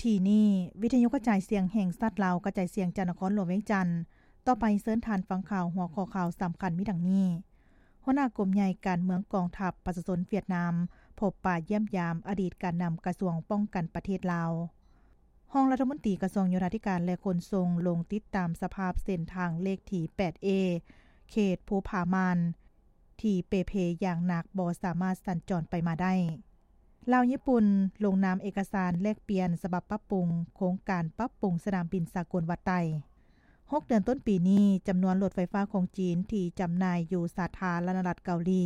ທີ່ນີ້ ວິທະຍຸກະຈາຍສຽງແຫ່ງຊາດລາວ ກະຈາຍສຽງຈາກນະຄອນຫຼວງວຽງຈັນ. ຕໍ່ໄປເຊີນທ່ານຟັງຂ່າວ ຫົວຂໍ້ຂ່າວສຳຄັນມີດັ່ງນີ້: ຫົວໜ້າກົມໃຫຍ່ການເມືອງກອງທັບປະຊາຊົນຫວຽດນາມ ພົບປະຢ້ຽມຢາມອະດີດການນຳກະຊວງປ້ອງກັນປະເທດລາວ. ຮອງລັດຖະມົນຕີກະຊວງໂຍທາທິການ ແລະ ຂົນສົ່ງ ລົງຕິດຕາມສະພາບເສັ້ນທາງເລກທີ ແປດເອ ເຂດພູຜາມ່ານ ທີ່ເປ່ເພຢ່າງໜັກ ບໍ່ສາມາດສັນຈອນໄປມາໄດ້. ລາວຍີ່ປຸ່ນລົງນາມເອກະສານແລກປ່ຽນສະບັບປັບປຸງໂຄງການປັບປຸງສະໜາມບິນສາກົນວັດໄຕ. ຫົກເດືອນຕົ້ນປີນີ້, ຈຳນວນລົດໄຟຟ້າຂອງຈີນທີ່ຈຳໜ່າຍຢູ່ສາທາລະນະລັດເກົາຫຼີ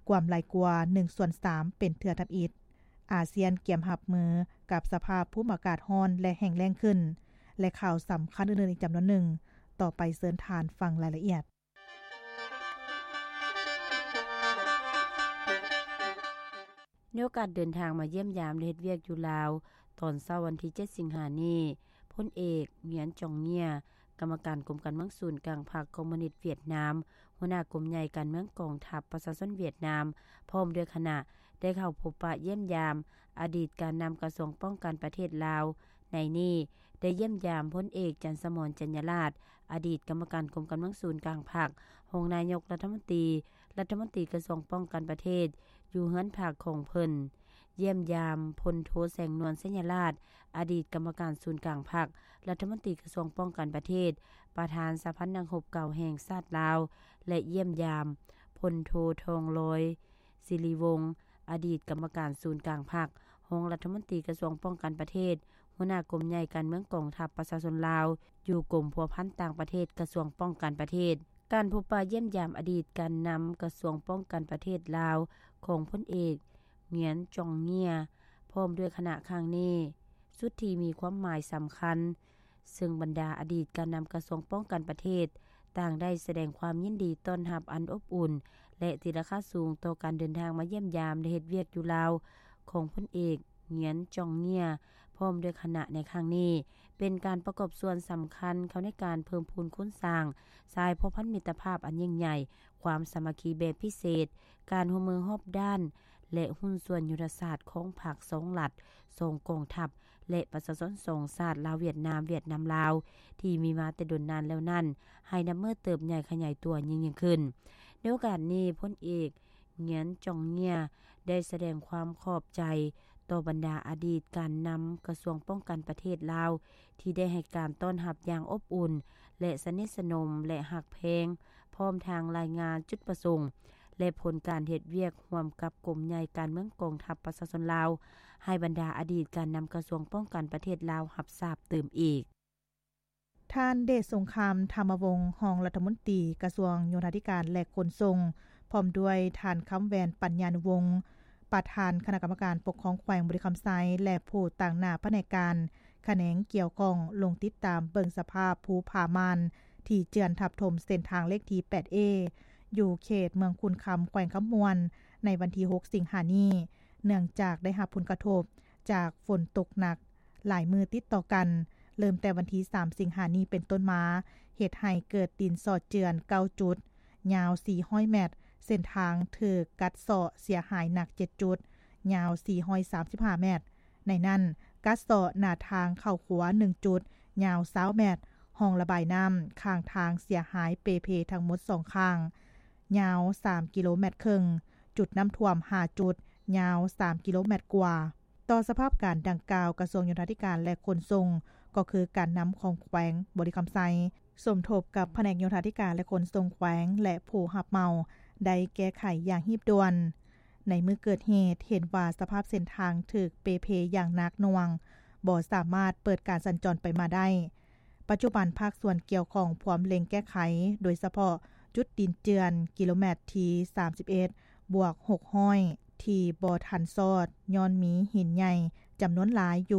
ກວມຫຼາຍກວ່າໜຶ່ງສ່ວນສາມເປັນເທື່ອທຳອິດ. ອາຊຽນກຽມຮັບມືກັບສະພາບພູມອາກາດຮ້ອນ ແລະ ແຫ້ງແລ້ງຂຶ້ນ ແລະ ຂ່າວສຳຄັນອື່ນໆອີກຈຳນວນໜຶ່ງ. ຕໍ່ໄປເຊີນທ່ານຟັງລາຍລະອຽດ. ໃນໂອກາດເດີນທາງມາຢ້ຽມຢາມ ແລະ ເຮັດວຽກຢູ່ລາວ, ຕອນເຊົ້າວັນທີເຈັດ ສິງຫານີ້, ພົນເອກ ຫງຽນ ຈອງເງຍ ກຳມະການກົມການເມືອງສູນກາງພັກຄອມມູນິດຫວຽດນາມ, ຫົວໜ້າກົມໃຫຍ່ການເມືອງກອງທັບປະຊາຊົນຫວຽດນາມ ພ້ອມດ້ວຍຄະນະ ໄດ້ເຂົ້າພົບປະຢ້ຽມຢາມອະດີດການນຳກະຊວງປ້ອງກັນປະເທດລາວ. ໃນນີ້ໄດ້ຢ້ຽມຢາມພົນເອກ ຈັນສະໝອນ ຈັນຍາລາດ ອະດີດກຳມະການກົມການເມືອງສູນກາງພັກ, ຮອງນາຍົກລັດຖະມົນຕີ, ລັດຖະມົນຕີກະຊວງປ້ອງກັນປະເທດ ຢູ່ເຮືອນພັກຂອງເພິ່ນ, ຢ້ຽມຢາມພົນໂທ ແສງນວນ ໄຊຍະລາດ ອະດີດກຳມະການສູນກາງພັກ, ລັດຖະມົນຕີກະຊວງປ້ອງກັນປະເທດ, ປະທານສະຫະພັນນັກຮົບເກົ່າແຫ່ງຊາດລາວ ແລະ ຢ້ຽມຢາມພົນໂທ ທອງລອຍ ສິລິວົງ ອະດີດກຳມະການສູນກາງພັກ, ຮອງລັດຖະມົນຕີກະຊວງປ້ອງກັນປະເທດ, ຫົວໜ້າກົມໃຫຍ່ການເມືອງກອງທັບປະຊາຊົນລາວ ຢູ່ກົມພົວພັນຕ່າງປະເທດ ກະຊວງປ້ອງກັນປະເທດ. ການພົບປະຢ້ຽມຢາມອະດີດການນຳກະຊວງປ້ອງກັນປະເທດລາວ ຂອງພົນເອກ ຫງຽນ ຈອງເງຍ ພ້ອມດ້ວຍຄະນະຄັ້ງນີ້ ສຸດທີ່ມີຄວາມໝາຍສຳຄັນ, ເຊິ່ງບັນດາອະດີດການນຳກະຊວງປ້ອງກັນປະເທດ ຕ່າງໄດ້ສະແດງຄວາມຍິນດີຕ້ອນຮັບອັນອົບອຸ່ນ ແລະ ຕີລາຄາສູງຕໍ່ການເດີນທາງມາຢ້ຽມຢາມ ແລະ ເຮັດວຽກຢູ່ລາວ ຂອງພົນເອກ ຫງຽນ ຈອງເງຍ ພ້ອມດ້ວຍຄະນະໃນຄັ້ງນີ້ ເປັນການປະກອບສ່ວນສຳຄັນເຂົ້າໃນການເພີ່ມພູນຄູນສ້າງສາຍພົວພັນມິດຕະພາບອັນຍິ່ງໃຫຍ່, ຄວາມສາມັກຄີແບບພິເສດ, ການຮ່ວມມືຮອບດ້ານ ແລະ ຫຸ້ນສ່ວນຍຸດທະສາດຂອງພັກສອງລັດ, ສອງກອງທັບ ແລະ ປະຊາຊົນສອງຊາດ ລາວ-ຫວຽດນາມ, ຫວຽດນາມ-ລາວ ທີ່ມີມາແຕ່ດົນນານແລ້ວນັ້ນ ໃຫ້ນັບມື້ເຕີບໃຫຍ່ຂະຫຍາຍຕົວຍິ່ງໆຂຶ້ນ. ໃນໂອກາດນີ້, ພົນເອກ ຫງຽນ ຈອງເງຍ ໄດ້ສະແດງຄວາມຂອບໃຈຕໍ່ບັນດາອະດີດການນຳກະຊວງປ້ອງກັນປະເທດລາວ ທີ່ໄດ້ໃຫ້ການຕ້ອນຮັບຢ່າງອົບອຸ່ນ ແລະ ສະໜິດສະໜົມ ແລະ ຮັກແພງ, ພ້ອມທັງລາຍງານຈຸດປະສົງ ແລະ ຜົນການເຮັດວຽກຮ່ວມກັບກົມໃຫຍ່ການເມືອງກອງທັບປະຊາຊົນລາວ ໃຫ້ບັນດາອະດີດການນຳກະຊວງປ້ອງກັນປະເທດລາວຮັບຊາບຕື່ມອີກ. ທ່ານ ເດດສົງຄາມ ທຳມະວົງ ຮອງລັດຖະມົນຕີກະຊວງໂຍທາທິການ ແລະ ຂົນສົ່ງ, ພ້ອມດ້ວຍທ່ານ ຄຳແຫວນ ປັນຍານຸວົງ ປະທານຄະນະກຳມະການປົກຄອງແຂວງບໍລິຄຳໄຊ ແລະ ຜູ້ຕາງໜ້າພະແນກການຂະແໜງກ່ຽວຂ້ອງ ລົງຕິດຕາມເບິ່ງສະພາບພູຜາມ່ານ ທີ່ເຈື່ອນທັບຖົມເສັ້ນທາງເລກທີ ແປດເອ ຢູ່ເຂດເມືອງຂຸນຄຳ ແຂວງຄຳມ່ວນ ໃນວັນທີຫົກ ສິງຫານີ້, ເນື່ອງຈາກໄດ້ຮັບຜົນກະທົບຈາກຝົນຕົກໜັກຫຼາຍມື້ຕິດຕໍ່ກັນ, ເລີ່ມແຕ່ວັນທີສາມ ສິງຫານີ້ເປັນຕົ້ນມາ, ເຮັດໃຫ້ເກີດດິນຊອດເຈື່ອນເກົ້າຈຸດ, ຍາວສີ່ຮ້ອຍແມັດ, ເສັ້ນທາງຖືກກັດເຊາະເສຍຫາຍໜັກເຈັດຈຸດ, ຍາວສີ່ຮ້ອຍສາມສິບຫ້າແມັດ. ໃນນັ້ນ, ກັດເຊາະໜ້າທາງເຂົ້າຂົວໜຶ່ງຈຸດ, ຍາວຊາວແມັດ, ຮ່ອງລະບາຍນ້ຳຂ້າງທາງເສຍຫາຍເປ່ເພທັງໝົດສອງຂ້າງ, ຍາວສາມກິໂລແມັດເຄິ່ງ, ຈຸດນ້ຳຖ້ວມຫ້າຈຸດ, ຍາວສາມກິໂລແມັດກວ່າ. ຕໍ່ສະພາບການດັ່ງກ່າວ, ກະຊວງໂຍທາທິການ ແລະ ຂົນສົ່ງ, ກໍຄືການນຳຂອງແຂວງບໍລິຄຳໄຊ, ສົມທົບກັບພະແນກໂຍທາທິການ ແລະ ຂົນສົ່ງແຂວງ ແລະ ຜູ້ຮັບເໝົາ ໄດ້ແກ້ໄຂຢ່າງຮີບດ່ວນ. ໃນມື້ເກີດເຫດ, ເຫັນວ່າສະພາບເສັ້ນທາງຖືກເປ່ເພຢ່າງໜັກໜ່ວງ, ບໍ່ສາມາດເປີດການສັນຈອນໄປມາໄດ້. ປັດຈຸບັນພາກສ່ວນກ່ຽວຂ້ອງພວມເລັ່ງແກ້ໄຂ, ໂດຍສະເພາະຈຸດດິນເຈື່ອນກິໂລແມັດທີສາມສິບເອັດ ບວກຫົກຮ້ອຍ ທີ່ບໍ່ທັນຊອດ ຍ້ອນມີຫີນໃຫຍ່ຈຳນວນຫຼາຍຢູ່